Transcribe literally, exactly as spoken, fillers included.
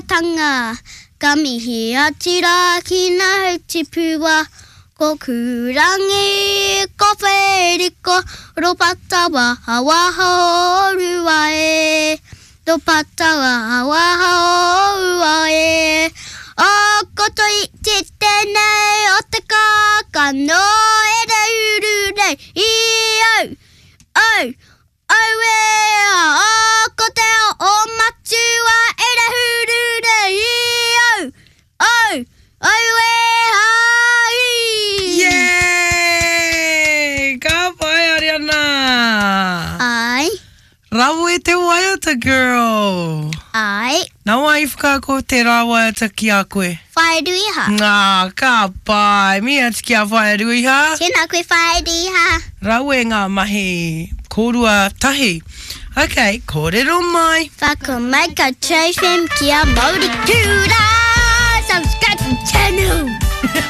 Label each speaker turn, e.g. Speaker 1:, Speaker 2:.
Speaker 1: waiatanga. Ka mihi atu rā ki ngā hautipua, ko Kūrangi, ko Wheriko, Ropata Wahawaha o Rua e. Ropata Wahawaha o Ua e. O ko Toiti tēnei o te kākano e reuru nei i au, au, auē a ko te ao o Matua e rehuru nei i au, au, auē hai!
Speaker 2: Yay! Ka pai, Ariana!
Speaker 1: Ai.
Speaker 2: Rawe te waiata, girl!
Speaker 1: Ai.
Speaker 2: Nā wai i whakaako tērā waiata ki a koe?
Speaker 1: Whaea Ruiha.
Speaker 2: Ngā, ka pai. Mihi atu ki a Whaea Ruiha.
Speaker 1: Tēnā koe Whaea Ruiha.
Speaker 2: Rawe ngā mahi kōrua tahi. Ok, kōrero mai.
Speaker 1: Whakamaika Trofim kia Mauri Kura!